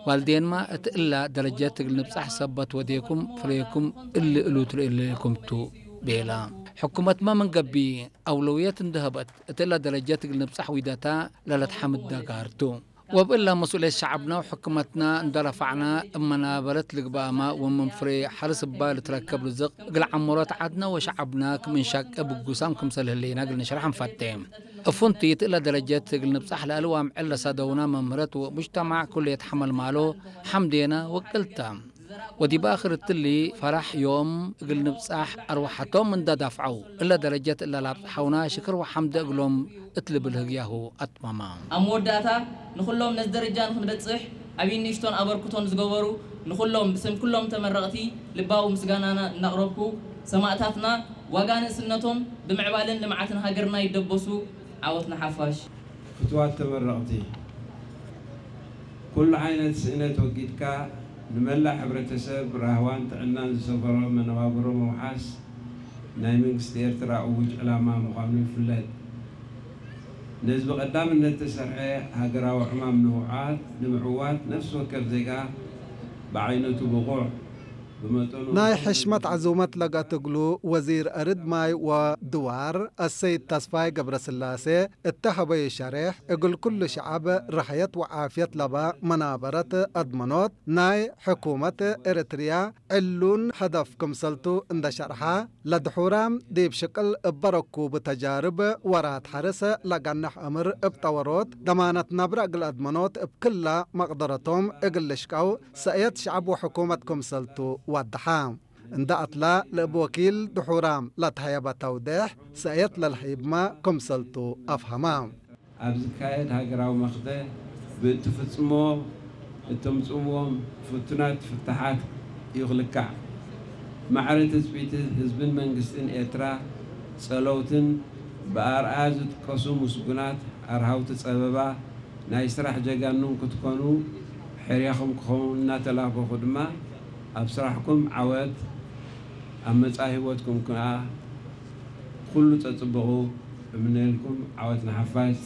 ባልዴንማ እቲ እላ ደረጀት እግል ንብጻሕ ሰበት ወዴኩም ፍሬኩም እሊ እሉ ትርእልኩም ቱ ቤላ። ሕኩመትማ ምን ገቢ ኣውለውየት እንደሀበት እቲ እላ ደረጀት እግል ንብጻሕ ዊደታ ለለትሓምድ ደጋርቱ። ወብእላ መስኡልየት ሸዓብና ወሕኩመትና እንደረፋዕና እመናበረት ልግባእማ ወምን ፍሬ ሓርስ እባ ልትረከብ ርዝቕ እግል ዓመሮት ዓድና ወሸዓብና ክም እንሻቀ ብጉሳም ክምሰል ህሌና እግል ንሽራሕ እንፈቴ። እፉንቲ ትእለ ደረጀት እግል ንብጻሕ ለእልዋም ዕለ ሰደውና መምህረት ወሙጅተማዕ ኩሉ የትሐመል ማሎ ሐምዴና ወቅልታ። ወዲብ አኽር እትሊ ፈራሕ ዮም እግል ንብጻሕ አርወሐቶም እንደ ዳፍዐው እለ ደረጀት እለ ላብጽሐውና ሽክር ወሐምደ እግሎም እት ልብል ህግያሁ አትመማ። ኣብ መወዳእታ ንኹሎም ነዚ ደረጃ ንኽንበጽሕ ዓብይን ንእሽቶን ኣበርክቶን ዝገበሩ ንኹሎም ብስም ኩሎም ተመረቕቲ ልባዊ ምስጋናና እናቕረብኩ ሰማእታትና ዋጋ ንእስነቶም ብምዕባለን ልምዓትን ሃገርና ይደበሱ። ዓወት ንሓፋሽ። ፍትዋት ተመረቕቲ፣ ኩሉ ዓይነት ስእነት ወጊድካ ንመላእ ሕብረተሰብ ራህዋን ጥዕናን ዝሰፈሮ መነባብሮ ምውሓስ ናይ መንግስቲ ኤርትራ እዉጅ ዕላማ ምዃኑ ይፍለጥ። ነዚ ብቐዳምነት ተሰርሐ ሃገራዊ ዕማም ንምውዓት፣ ንምዕዋት ነፍሲ ወከፍ ዜጋ ብዓይነቱ ብቑዕ፣ ብመጠኑ ናይ ሕሽመት ዕዙመት ለገትግሉ ወዚር እርድ ማይ ወድዋር አሰይድ ተስፋይ ገብረስላሴ እተሀበዩ ሸሬሕ እግል ኩሉ ሸዐብ ራሕየት ወዓፍየት ለበ መናበረት አድመኖት ናይ ሕኩመት ኤርትርያ ዕሉን ሀደፍ ክምሰልቱ እንደ ሸርሐ፣ ለድሑራም ዲብ ሽቅል እበ ረኩብ ተጃርብ ወራት ሐርስ ለገንሕ እምር እብ ጠወሮት ደማነት ነብረ እግል አድመኖት እብ ክለ መቅደረቶም እግል ልሽቀው ሰእየት ሸዐብ ወሕኩመት ክምሰልቱ ወደሐ። እንደ አትላ ለእብ ወኪል ድሑራም ለተሀየበ ተውዴሕ ሰእየት ለልሀይብመ ክምሰልቱ አፍሀመ። ኣብ ዝካየድ ሃገራዊ መኽተ ብእትፍጽሞ እተምጽእዎም ፍቱናት ፍታሓት እዩ ክልካዕ። ማዕረ ትጽቢት ህዝብን መንግስትን ኤርትራ ጸለውትን ብኣርኣያ ዝጥቀሱ ምስጉናት ኣርሃውቲ ጸበባ ናይ ስራሕ ጀጋኑን ክትኮኑ ሕርያኹም ክኸውን እናተላበኹ ድማ ኣብ ስራሕኩም ዓወት ኣብ መጻኢ ህይወትኩም ከኣ ኩሉ ጸጽብቑ እምነልኩም። ዓወት ንሓፋሽ።